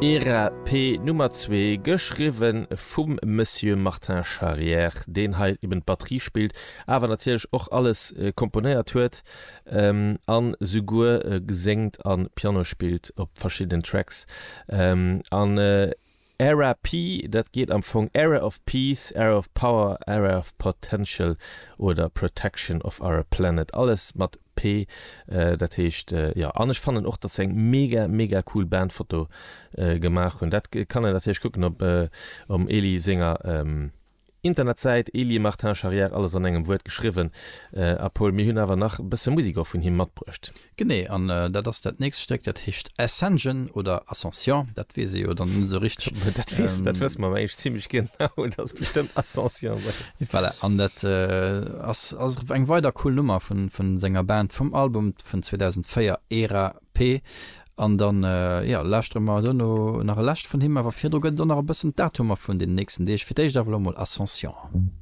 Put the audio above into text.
Era P Nummer zwee, geschriwwe vum Monsieur Martin Charrière, deen hei eben d'Batterie spillt, awer natierlech och alles komponéiert huet an souguer séngt a Piano spillt op verschiddenen Tracks. An Era P, dat geet am Fong Era of Peace, Era of Power, Era of Potential oder Protection of our Planet, alles mat P, dat heescht, jo. An ech fannen och, dass se eng mega, mega cool Bandfoto gemaach hunn. Dat kann een natierlech kucken op um Elie senger Internetsäit, Elie Martin Charrière, alles an engem Wuert geschriwwen. A Paul, mir hunn awer nach e bësse Musek och vun him matbruecht. Genee, an dat ass dat nächst Stéck, dat heescht Ascension oder Ascension, dat weess ee jo dann net esou richteg. Dat weess, dat wësse mer awer eigentlech zimmlech genau, dat ass bestëmmt Ascension. Voilà, an dat ass ass eng weider cool Nummer vun senger Band vum Album vun 2004, Era P. An dann, jo, lauschtere mer duerno nach e lescht vun him, awer virdru gëtt et och nach e bëssen d'Datumer vun den nächsten Deeg. Fir d'éischt awer elo mol Ascension.